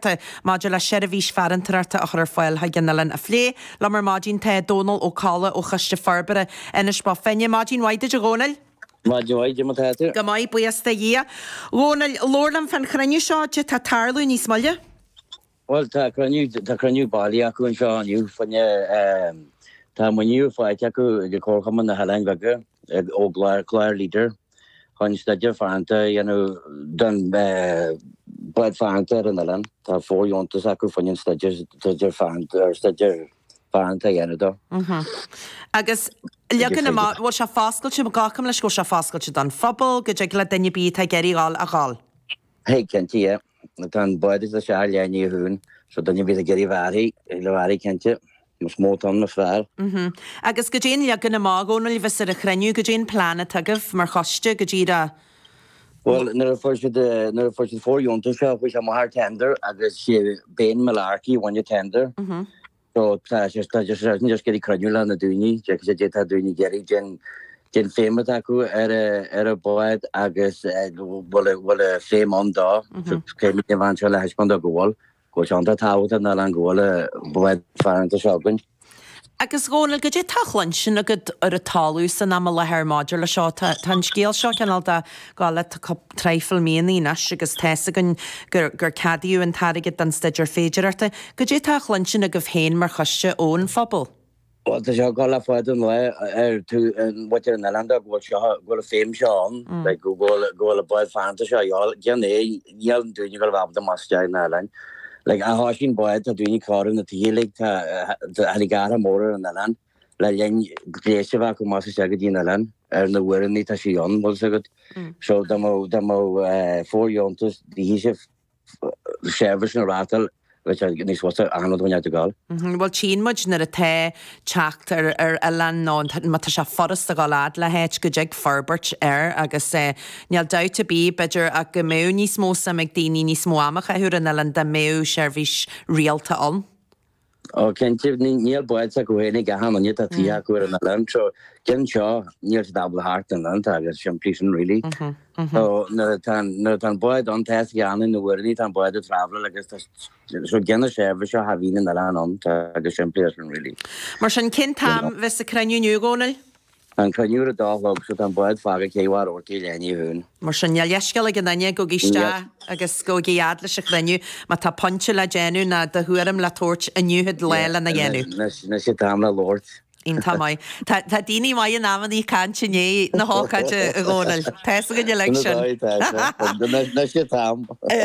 féidearthachta maidir le seirbhís farantóireachta a chur ar fáil chuig an oileán a phlé. Liom ar maidin tá Dónal Ó Colla ó Choiste Forbartha Inis Bó Finne. Maidin mhaith duit a Dhónaill. Maidin mhaith, cad é mar tá tú? Go maith, buíochas do Dhia. Dhónaill, labhair liom fán chruinniú seo, cad é tá ag tarlú níos moille? Bhuel, tá cruinniú, tá cruinniú bailithe acu anseo inniu fá choinne, tá maoiniú faighte acu ag Comharchumann na hOileáin Bheaga ó chlár Leader chun staidéar fearanta a dhéanamh don bád farantóireachta ar an oileán. Tá fóirdheontas acu fá choinne an staidéar, staidéar fearanta, ar staidéar farantóireachta a dhéanamh dó. Agus leagan amach, bhfuil sé foscailte, glacaim leis go bhfuil sé foscailte don phobal, go dtig le duine ar bith atá ag iarraidh dhul a dhul? Thig, cinnte, yeah. Tá an bád ag dul isteach ar leath i ndiaidh a haon, so duine ar bith ag iarraidh a bheith uirthi, le bheith uirthi, cinnte. Is mó atá ann, is fearr. Agus goidé an leagan amach, a Dhónaill, a bheas ar an chruinniú, goidé an plean atá agaibh mar choiste, go díreach. Bhuel, nuair a fuair siad, nuair a fuair siad fóirdheontas seo, chuaigh sé amach ar tender agus sé Bain Malarkey a bhain an tender. So tá sé, tá sé just ag iarraidh cruinniú le na daoine, cad é tá daoine ag iarraidh, cén, cén feidhm atá acu ar a, ar an bád agus bhfuil, bhfuil feidhm ann dó. So caithfimid a bheith anseo le thaispeáint dó go bhfuil. Go bhfuil sé iontach tábhachtach don oileán go bhfuil an bád farantóireachta seo againn. Agus Dhónaill, goidé tá á chluinstin agat ar an talamh san am i láthair maidir le seo? Tá an scéal seo cineál de gabháil le traidhfil míonna anois agus tá's againn gur gur ceadaíodh an t-airgead don staidéar féidearthachta. Goidé tá á chluinstin agaibh féin mar choiste ón phobal? Bhuel, tá sé ag gabháil le fada an lá ar tú mhuintir an oileáin dó go bhfuil seo, go bhfuil an feidhm seo ann, like go bhfuil, go bhfuil an bád farantóireachta seo a dhíobháil. Déan é, níl daoine ag gabháil a bheith ábalta amach isteach na hoileáin. Like a thoisíonn bád, tá daoine ag cóiriú na tithe uilig, tá, tháinig athrú mór ar an oileán le linn gléas a bheith acu amach isteach go dtí an oileán ar na huaireanna tá sí ann, bhfuil fhios agat. So dá mbeadh, dá mbeadh fóirdheontas, bhí sé seirbhís na reáchtáil bheadh sé níos fusa achan rud a bhain ag dul. Bhuel tchíonn muid nuair atá teacht ar ar oileán nó má tá sé furast a dhul fhad le háit go dtig forbairt air agus níl dabht ar bith b'fhéidir ach go mbeadh níos mó suim ag daoine níos mó ama a chaitheamh ar an oileán dá mbeadh seirbhís rialta ann. Ó cinnte, níl bád s'acu féin ag achan duine, tá tithe acu ar an oileán, so gan seo níl siad ábalta theacht an oileán, tá go simplí sin really. So nuair atá nuair atá an bád ann, tá fhios ag achan duine na huaireanna tá an bád ag travelláil agus tá so gan an seirbhís seo cha bhíonn an oileán ann, tá go simplí sin really. Mar sin, cén t-am a bheas an cruinniú inniu, a Dhónaill? Tá an cruinniú ar a dó a chlog so tá an bád fágtha Cé Bharr Rabhartaigh i leath i ndiaidh a haon. Mar sin, níl leithscéal ag aon duine, gabhaigí isteach agus gabhaigí fhad leis an chruinniú má tá pointe le déanamh ná do thuairim le tabhairt, inniu an lá lena dhéanamh. Anois an t-am le labhairt. Iontach maith. Tá daoine maith in amannaí ag caint i ndiaidh na hócáide, a Dhónaill. Tá fhios againn uilig sin. Anois an t-am.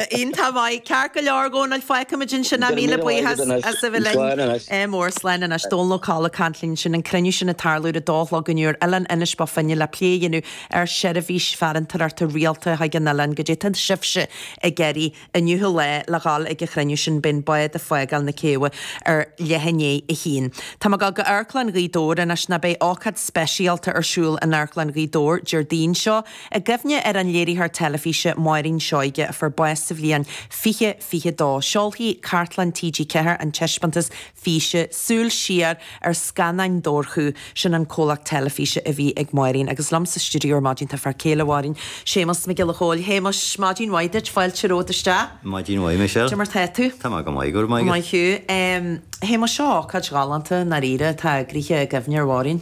Iontach maith. Ceart go leor, a Dhónaill, fágfaimid ansin é. Míle buíochas as a bheith linn. Slán anois. Ádh mór, slán anois. Dónal Ó Colla ag caint linn ansin. An cruinniú sin ag tarlú ar a dó a chlog inniu ar Oileán Inis Bó Finne le plé a dhéanamh ar sheirbhís farantóireachta rialta chuig an oileán. Goidé tá sibhse ag iarraidh Inniu an lá le dhul ag an chruinniú sin beidh an bád ag fágáil na céibhe ar leath i ndiaidh a haon. Tá mé ag dul go Amharclann Ghaoth Dobhair anois nó beidh ócáid speisialta ar siúl in Amharclann Ghaoth Dobhair Déardaoin seo i gcuimhne ar an léiritheoir teilifíse Máirín Seoige a fuair bás sa bhliain 2022. Seolfaidh Cartlann TG4 an taispeántas físe, Súil Siar ar Scannáin Dobharchú, sin an comhlacht teilifíse a bhí ag Máirín. Agus liom sa stiúideo ar maidin tá fear céile Mháirín, Séamus Mac Giolla Chóill. Shéamuis, maidin mhaith duit, fáilte romhat isteach. Maidin mhaith, Michelle. Cad é mar tá tú? Tá mé go maith, go raibh maith agat. Maith thú. Shéamuis, seo ócáid ghalánta i ndáiríre atá eagraithe i gcuimhne ar Mháirín.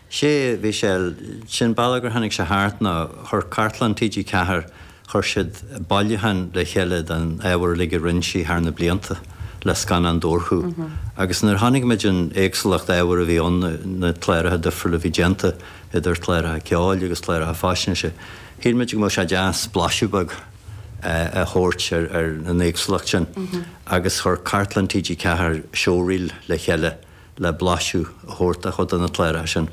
Sea, a Mhichelle, sé'n bealach gur tháinig sé thart ná chuir Cartlann TG4, chuir siad bailiúchán le chéile den ábhar uilig a rinne sí thar na blianta le Scannáin Dobharchú. Agus nuair a chonaic muid an éagsúlacht ábhair a bhí ann, na cláracha difriúla a bhí déanta, idir chláracha ceoil agus chláracha faisnéise, shíl muid go mbeadh sé deas blaiseadh beag a thabhairt ar an éagsúlacht sin. Agus chuir Cartlann TG4 showreel le chéile le blaiseadh a thabhairt de chuid de na cláracha sin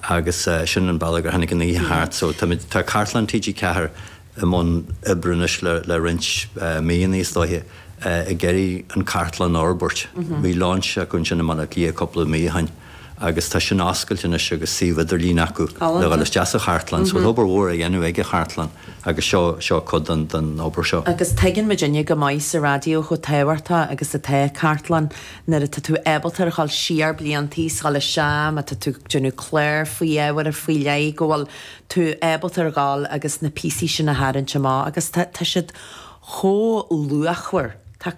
agus sin an bealach gur tháinig an oíche thart. So táimid, tá Cartlann TG4 i mbun oibre anois le le roinnt míonna is dóiche ag iarraidh an cartlann a fhorbairt. Bhí launch acu ansin i mBaile Átha Cliath cúpla mí ó shin agus tá sin oscailte anois agus suíomh idirlín acu le dhul isteach sa chartlann. So tá obair mhór á dhéanamh ag an chartlann agus seo seo cuid den den obair seo. Agus tuigeann muidinne go maith sa raidió chomh tábhachtach agus atá cartlann. Nuair atá tú ábalta ar dhul siar bliantaí is dhul isteach, má tá tú ag déanamh clár faoi ábhar faoi leith, go bhfuil tú ábalta ar dhul agus na píosaí sin a tharraingt amach agus tá, tá siad chomh luachmhar. Tá.